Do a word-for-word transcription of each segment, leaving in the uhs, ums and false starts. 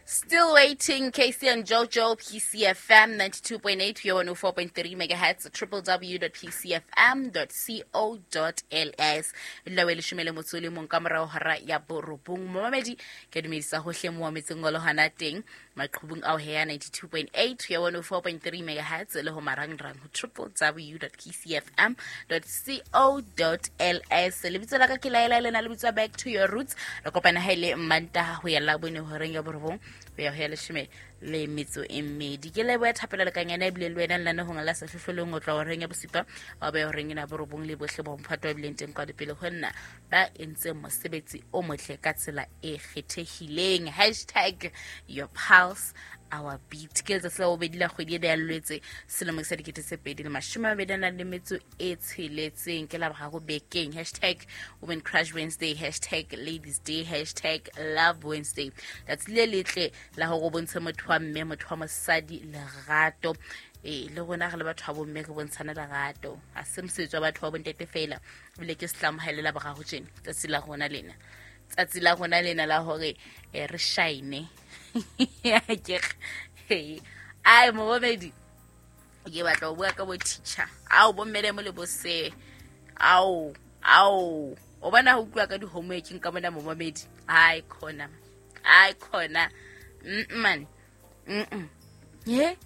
Still waiting, K C and Jojo, P C F M ninety-two point eight, one oh four point three megahertz, w w w dot p c f m dot co dot l s. Lawe leshome le motso le mong ka morao hora ya borobong. Momamedi, ke dumedisa hohle mo metseng o le hona teng, maqhubung ao he ya ninety-two point eight ya one oh four point three megahertz le ho marangrang ho w w w dot p c f m dot co dot l s. Lebitso la ka ke Laela, lena le bitswa Back to Your Roots. Re kopana ha ile Mantaha ho ya Labone horeng ya borobong ho ya ho ya leshome le metso e mmedi. Ke leboha thapelo le kanyana ebile le wena lenanehong la Sehlohlolong o tla horeng ya bosupa wa be horeng ena borobong le bohle bo mphato ba bileng teng kwa pele ho nna ba entseng mosebetsi o motle ka tsela e kgethehileng. Hashtag your pulse our beat. Ke letsatsi la bobedi la kgwedi ena ya Lwetse selemo sa dikete tse pedi le mashome a mabedi a nang le metso e tsheletseng. Ke Laboraro bekeng. Hashtag women crush Wednesday, hashtag ladies day, hashtag love Wednesday. Tsatsi le letle la hore o bontshe motho wa mme, motho wa mosadi lerato. Ee, le rona re le batho ba bomme re bontshane lerato, ha se mosebetsi wa batho ba bontate fela. Ebile ke setlamo ha e le Laboraro tjena, tsatsi la rona lena, tsatsi la rona lena la hore eh, re shine. Ke ai momamedi, ke batla ho bua ka bo teacher ao, bo mmele mo le bo se ao ao o bona ho utlwa ka di-homework ka mona. Momamedi, ai khona, ai khona, mm man mm ye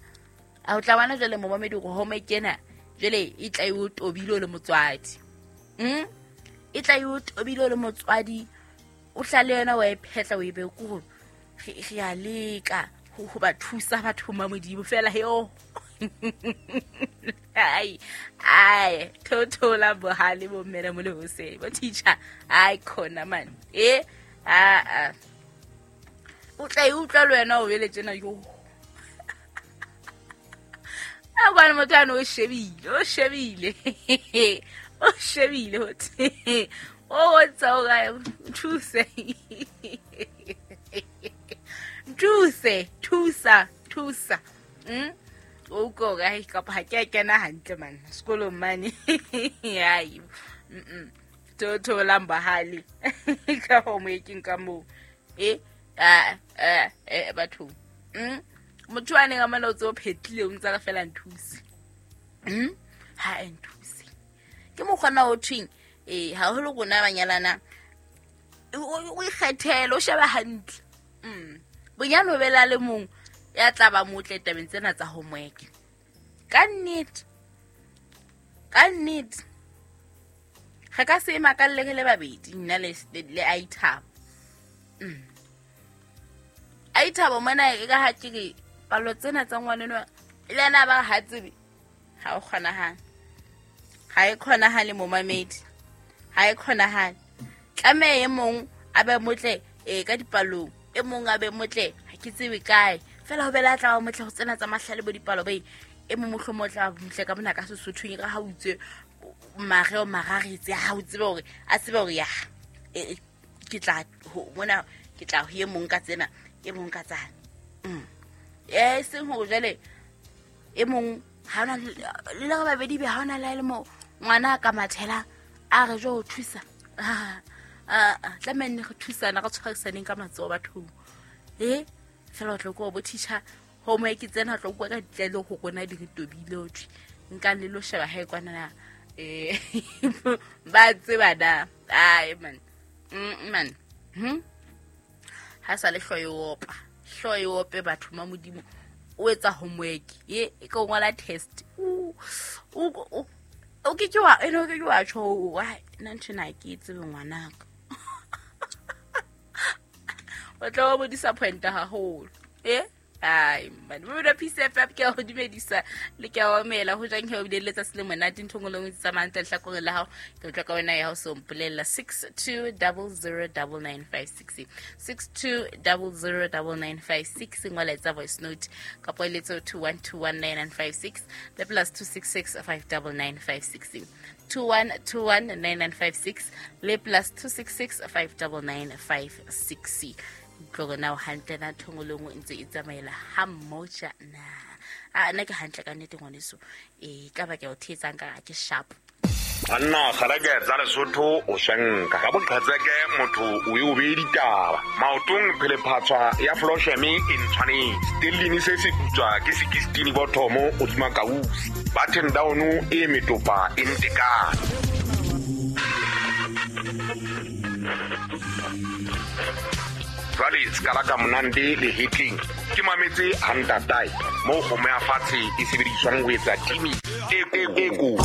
a o tla bona jwale, momamedi, hore homework ena jwale e tla e o tobile o le motswadi, mm e tla e o tobile o le motswadi, o hlale yona wa e phetla o e be ko re re a leka ho ho ba thusa batho ma Modimo fela yo. Ai ai, thothola bohale bo mmele mo le hoseng bo teacher. Ai khona man, e a a o tla e utlwa le wena o bele tjena yo. A kwana motho ane o shebile, o shebile, o shebile hothi o bontsha o kae, thuse, thuse, thusa, thusa, mm o ko kae, kapa ha ke a kena hantle man sekolong mane. Ai mm thotholang bahale ka homeworking ka moo. E a a e batho, mm motho a neng a mana o tse o phetlile o ntse re fela nthuse, mm ha e nthuse ke mokgwana o thweng eh haholo rona banyalana o ikgethele, o sheba hantle, mm bonyane o bela le mong ya tla ba motle tabeng tsena tsa homework. Ka nnete, ka nnete re ka se makalle re le babedi, nna le le Aithabo. mm aithabo mona e ka ha ke re palo tsena tsa ngwaneno le ena ba ha tsebe ha o kgonahale, ha e kgonahale, momamedi, ha e kgonahale. Tlameha e mong a be motle e ka dipalong, e mong a be motle ha ke tsebe kae fela ho bela tla ba motle ho tsena tsa mahlale bo dipalo ba e mong mohlomong o tla motle ka mona ka Sesothong ka ha o itse mareo mararetse ha o tsebe hore a tsebe hore ya e ke tla mona, ke tla ho e mong ka tsena, e mong ka tsane, mm e seng hore jwale e mong ha ona le le babedi be ha ona le le mo ngwana ka mathela a re jo thusa a tlameha nne re thusana, re tshwarisaneng ka matsoho bathong. E fela o tlo ko bo teacher homework tsena, tlo kwa ka ditlele go rona di re tobile o thwe nka le lo sheba ha e kwana na eh ba tseba na. Ai man, mm man hm ha sa le hloyo opa, hloyo ope batho ma Modimo. O etsa homework ye e ka ngola test, o o o ke ke wa ene o ke ke wa tjho wa nna ntho na ke tsebe ngwanaka o tla ba disappoint haholo. E ai man, mo da P C F F ke go dumedisa le ke a omela ho jang he o bile letsatsi le monate ntho ngwe le nngwe tsamayang ntle lehlakoreng la hao. Ke utlwa ka wena ya ho so mpolella six two double zero double nine five six, six two double zero double nine five six. Ngola etsa voice note kapa eletso two one two one nine nine five six le plus two six six five nine nine five six, two one two one nine nine five six le plus two six six five nine nine five six. Tlo na o hantle na ntho ngwe le nngwe ntse e tsamaela ha mmoja na? A nna ke hantle ka nnete ngwaneso. E ka ba ke o thetsang ka ke sharp. Banna kgalake tsa Lesotho o swenka ka boqhetseke motho o e o beye ditaba maotong phelephatswa ya flosheme e ntshwanetse stellini se se putswa ke sixteen bothomo hodima kausi button down e metopa e ntekane. Jwale skala ka monande le hitling ke mametse hantatai mo kgomo ya fatshe e sebediswang ho etsa timi e e ko.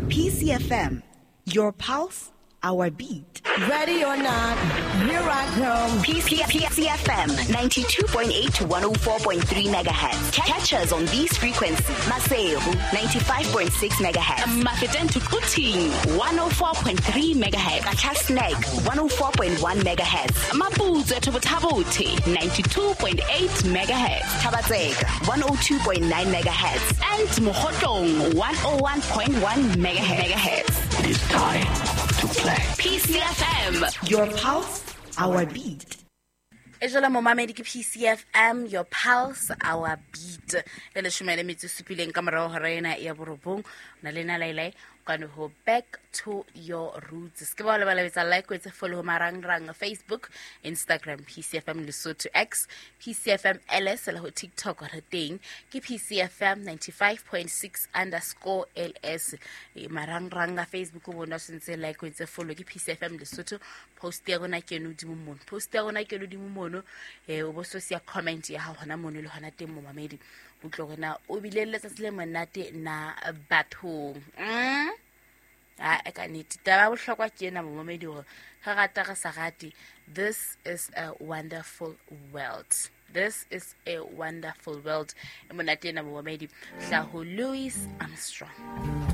P C F M, your pulse, our beat. Ready or not, here I come. P C F M, ninety-two point eight to one oh four point three megahertz. Catch us on these frequencies. Maseru, ninety-five point six megahertz. Mafeteng to Quthing, one oh four point three megahertz. Qacha's one oh four point one megahertz. Maputsoe to Botha-Bothe, ninety-two point eight megahertz. Thaba-Tseka, one oh two point nine megahertz. And Mokhotlong, one oh one point one megahertz. It is time to play. P C F M, your pulse, our beat. E jwale momamedi ke P C F M, your pulse, our beat. Le leshome le metso e supileng ka morao hora ena ya borobong. Na le na lailai kwano ho back to your roots. Se ke ba lebala betsa like o etse follow marangrang Facebook, Instagram P C F M Lesotho X, P C F M L S le ho TikTok re teng ke P C F M ninety-five point six underscore L S. E marangrang a Facebook o bona sentse like o etse follow ke P C F M Lesotho. Post ya rona ke no dimo mono. Post ya rona ke no dimo mono. Eh o bo so sia comment ya ha hona mono le hona teng momamedi. O tlo rena o bile letsatsi le monate na bathong. Mm? Ah, e ka nnete taba bohlokwa ke ena momamedi hore ga rata re sa rate, this is a wonderful world. This is a wonderful world. E monate ena momamedi hlaho Louis Armstrong.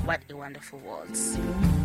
What a wonderful world.